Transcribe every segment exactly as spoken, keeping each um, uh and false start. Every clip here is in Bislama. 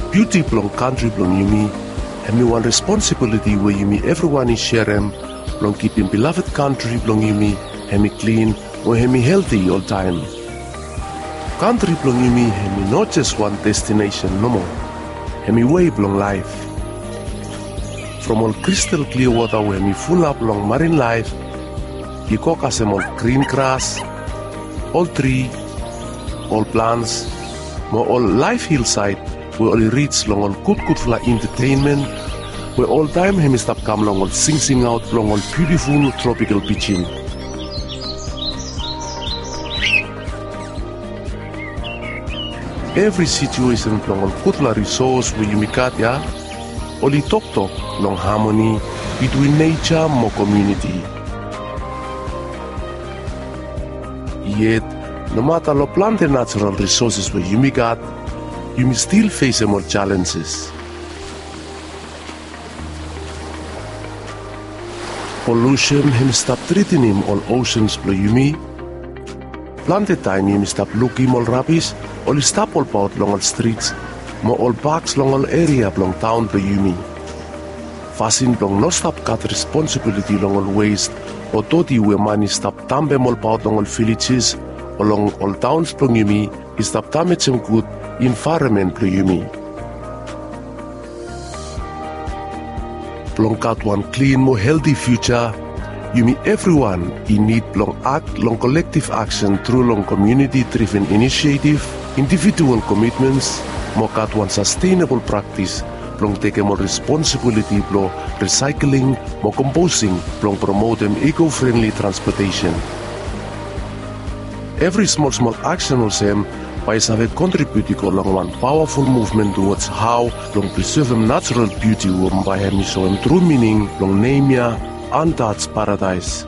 Biuti blong kantri blong yumi hemi wan responsibiliti we yumi evriwan i serem blong kipim bilafed kantri blong yumi hemi klin mo hemi helti oltaem. Kantri blong yumi hemi no jes wan destinesen nomo, hemi wei blong laef. From ol kristal klia wota we hemi fulap long marin laef i go kasem ol grin gras, ol tri, ol plants, mo ol laef hilsaed we oli rij long ol gudgudfala entetenmen we oltaem hemi stap kam long ol singsingaot blong ol biutiful tropikal pijin. Evri situesen blong ol gudfala risos we yumi gat ya oli toktok long hamoni bitwin neja mo komuniti. Yet nomata long plante najaral risoses we yumi gat, yumi stil fesem ol jalenjes. Polusen hemi stap tretenem ol osens blong yumi. Plante taem yumi stap lukim ol rabis oli stap olbaot long ol strits mo ol paks long ol eria blong taon blong yumi. Fasin blong no stap gat responsibiliti long ol wes o doti we man i stap dampem olbaot long ol vilejes o long ol taons blong yumi i stap damejem gud envaeronmen blong yumi. Blong gat wan klin mo helti fiuja, yumi evriwan i nid blong akt long kolektiv aksen tru long komuniti driven inisietif, individual komitmens, mo gat wan sastenabol praktis blong tekem ol responsibiliti blong risaekling mo komposing blong promotem iko frenli transpotesen. Evri smolsmol aksen olsem bae i save kontribiut i go long wan pawaful muvmen tuwods hao blong prisevem najaral biuti we bae hemi soem tru mining blong nem ya Untouched Paradise.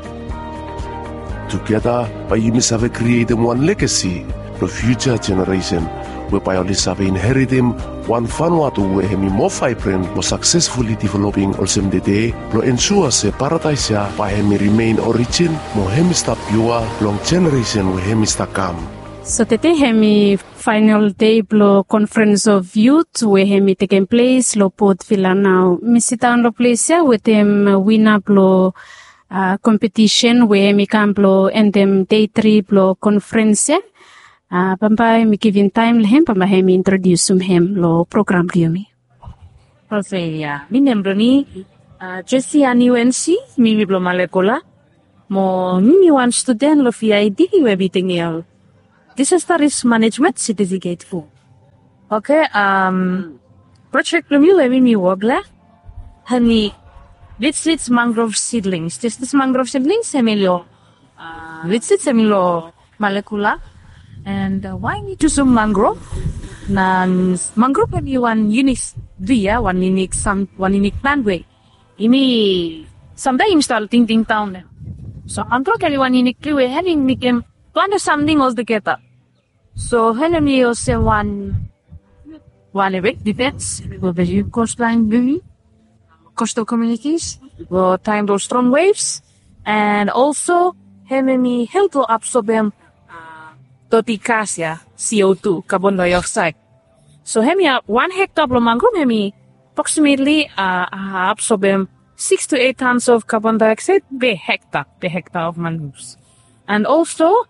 Tugeta bae yumi save krietem wan legasi blong fiuja jeneresen we bae oli save inheritem wan Vanuatu we hemi moa vaebren mo saksesfuli developing olsem tede blong ensua se paradaes ya bae hemi rimen orijin mo hemi stap piua long jeneresen we hemi stap kam. So tede hemi faenol dei blong Conference of Youth we hemi tekem ples long Port Vila nao. Mi sidaon long ples ya wetem wina blong kompetisen we hemi kam blong endem dei tri blong konferens ya. Bambae mi givim taem long hem bambae hemi introdiusim hem long program blong yumi. Oke ya, mi nem blong mi Jesi Ani Wensi, mi mi blong Malekula. Mo mi mi wan studen long V I D we mi tekem ol disasta risk manejmen setifiket fu. Oke, projek blong mi we mi mi wok long hem hemi Vitsits mangrove seedlings. Distas mangrove seedlings hemi long Vitsits hemi long Malekula. And wae mi jusum mangrove? Na mangrove hemi wan yunik tri ya, wan yunik sam wan yunik plan we yumi samtaem yumi stap tingting daon ya. So mangrove hemi wan yunik tri we hemi mekem plante samting oltugeta. So hemi olsem wan wan ewe difens we be yu kostlaen blong yumi, kostal komunitis, long taem blong strong waves. And olso hemi help long absobem doti gas ya, CO two, kabon daeoksaed. So hemi wan hekta blong mangrove hemi aproksimetli absobem six to eight tons of kabon daeoksaed per hekta, per hekta of mangroves. And olso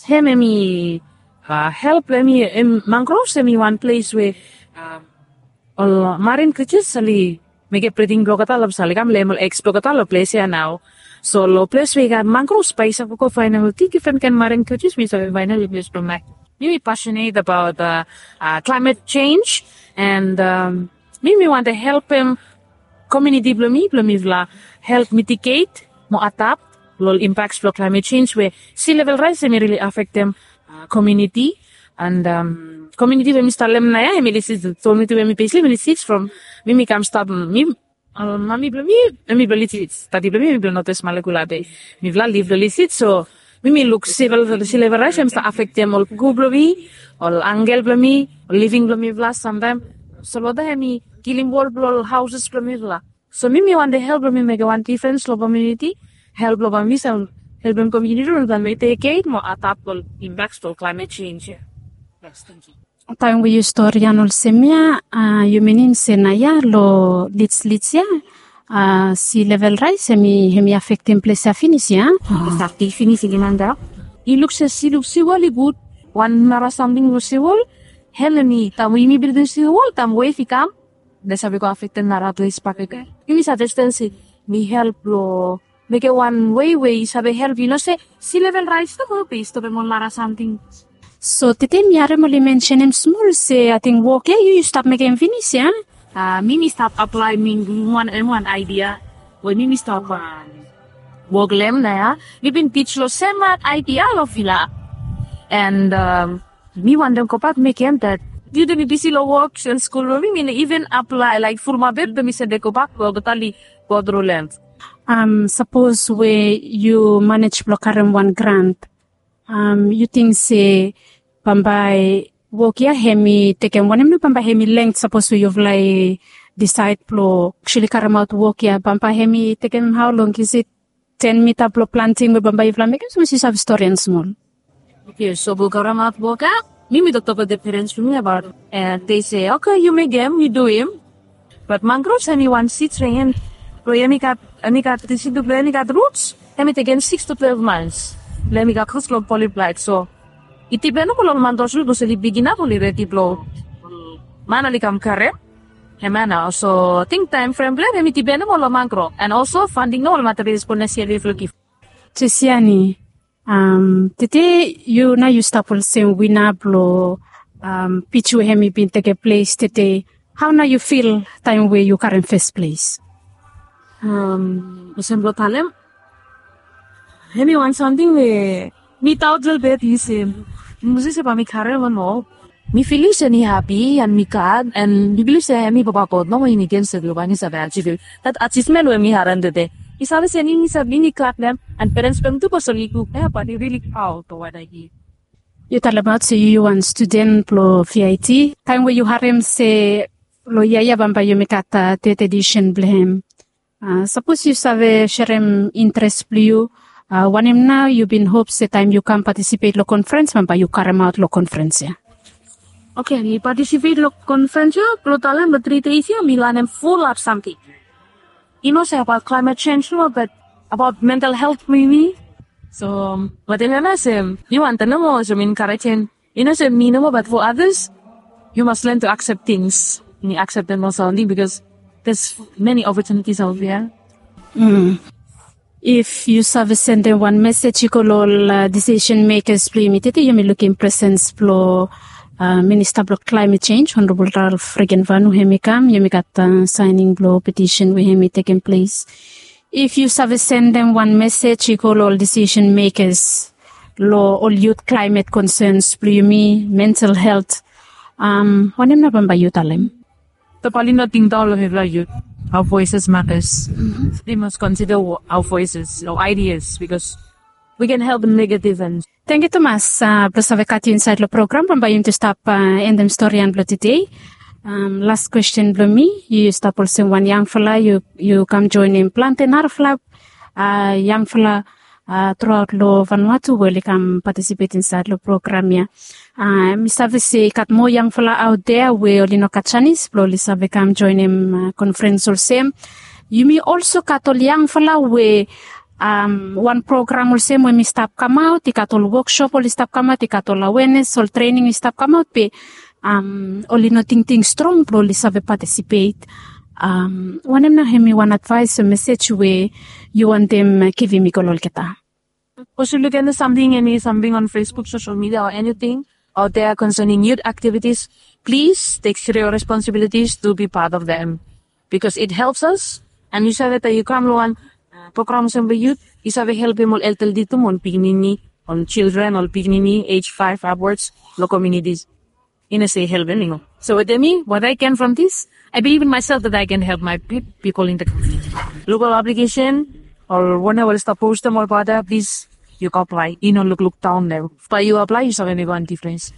hemi help, hemi mangroves hemi wan ples we ol marin krijas oli mekem briding blong olgeta long ples, oli kam leem ol eks blong olgeta long ples ya nao. So long ples we i gat mangroves bae i save go faenem ol difren kaen marin krijas we i save faenem long ples blong laef. Mi mi pasionet abaot klaemet jenj, and mi mi wantem helpem komuniti blong mi blong mifala help mitiget mo adap long ol impaks blong klaemet jenj we si level raes hemi rili afektem komuniti. And komuniti we mi stap lem naoia hemi lisits, komuniti we mi besim hemi lisits from mi mi kam stap mi mami blong mi hemi blong lisits, dadi blong mi hemi blong Northwest Malekula, be mifala liv long lisits. So mi mi luk si level raes hemi stap afektem ol puku blong mi, ol angkel blong mi, ol living blong mifala samtaem. So loda hemi kilim wol blong ol haoses blong mifala. So mi mi wantem help blong mi mekem wan difrens long komuniti, help blong mi save helpem komuniti blong mitiget mo adap long impaks blong klaemet jenj ya. Yes, tangkiu. Taem we yu storian olsem ya, yu minim se naoia lo Leeds, Leeds ya, si level rais hem i afektem ples ya finis ya? Afektem finis i giman daon. I luk se si luk si wol i gud. Wan nara samting lo si wol, hel hem i taem we yumi bildim si wol, taem wef i kam, hem i save go afektem nara ples bakegen. Yumi save stan se mi help lo mekem wan wei we i save help, yu no se si level rais nomo be i stopem ol nara samting. So tede mi harem oli mensenem smol se ating wok ya yu yu stap mekem finis ya? Mi mi stap aplaem, mi wan em wan aidia we mi mi stap wok lo hem naoia. Mi bin pij lo sem aidia lo vila. And mi wantem gobak mekem dat. Yu de mi bisi lo wok and skul, mi mi no iven aplae laek fulumap hem be mi sende gobak we olgeta oli go tru lo hem. Sapos we yu manej blong karem wan grant, yu ting se bambae wok ya hem i tekem wanem nao, bambae hem i length sapos we yufala i disaed blong aksuali karemaot wok ya, bambae hem i tekem hao long? Is it ten mita blong planting we bambae yufala mekem? Sapos yu save storian smol. Oke, so blong karemaot wok ya, mi mi toktok wetem perens blong mi abaot, and they say, oke, yu mekem, yu duim. Bat mangrove hem i wan sid we hem i gat, hem i gat, disid blong hem i gat ruts, hem i tekem sikis tu twelef mans blong hem i gat ruts blong poliplaet. So i dipen nomo long ol mangrove ruts, sapos oli big inap oli redi blong man oli kam karem. Hemia nao, so ating taem frem blong hem i dipen nomo long mangrove, and olso fanding nomo long materials blong next yia we yufala givim. Jesiani, tede yu nao yu stap olsem wina blong pij we hem i bin tekem ples tede. Hao nao yu fil taem we yu karem fes ples? Olsem blong talem, hem i wan samting we mi daot lelebet, yu se, mi no save se bae mi karem o no. Mi filim se mi hapi and mi glad, and mi bilif se hem i Papa God nomo, hem i givim se blong bae mi save ajivim dat ajivmen we mi harem tede. Mi save se mi save, mi glad long hem, and perens blong hem tu bos oli luk ya, bae oli rili praod long wanem i. Yu talemaot se yu wan studen blong V I T. Taem we yu harem se long yia ya bambae yumi gat tete edisen blong hem, sapos yu save serem intres blong yu, wanem nao yu bin hop se taem yu kam patisipet long konferens bambae yu karemaot long konferens ya? Oke, mi patisipet long konferens ya, blong talem long tri dei ya mi lanem fulap samting. I no se abaot klaemet jenj nomo, bat abaot mental helt blong yumi. So wanem ya nao se mi wantem nomo olsem enkarejem, i no se mi nomo bat fo adas, yu mas len tu aksep tings. Mi akseptem olsem bikos there's many opportunities out there. If yu save sendem wan mesej i go long ol disisen mekas blong yumi tede, yumi lukim presens blong Minista blong Climate Change, Honorable Ralph Regenvanu, hem i kam, yumi gat saening blong petisen we hem i tekem ples. If yu save sendem wan mesej i go long ol disisen mekas long ol yut, klaemet konsens blong yumi, mental helt, wanem nao bambae yu talem? Bae oli no tingdaon long mifala yut. Our voices matters. They must consider our voices, our ideas, because we can help in negative and. Tangkiu tumas blong save gat yu insaed long program. Bambae yumi tu stap endem storian blong tede. Las kwesten blong mi, yu stap olsem wan yangfala, yu kam joenem plante narafala yangfala truaot long Vanuatu we oli kam patisipet insaed long program ya. Mi save se i gat moa yangfala aot dea we oli no gat janis blong oli save kam joenem konferens olsem. Yumi olso gat ol yangfala we wan program olsem we mi stap kamaot, i gat ol woksop oli stap kamaot, i gat ol awenes, ol trening i stap kamaot, be oli no tingting strong blong oli save patisipet. Wanem nao hem i wan advaes o mesej we yu wantem givim i go long olgeta? Sapos yu luk eni samting, eni samting on Facebook, social media, or anything out there concerning youth activities, please take serious responsibilities to be part of them, because it helps us. And yu save taem yu kam long wan program olsem blong yut, yu save helpem ol elderly tu, ol pikinini, ol children, ol pikinini age five upwards long communities. I no se helpem i no. So wetem mi, what I gain from this, I believe in myself that I can help my people in the community. Look ol application, ol wanem oli stap postem, ol bata, please, yu go aplae. I no lukluk daon long hem. Bae yu aplae, yu save mekem wan difrens.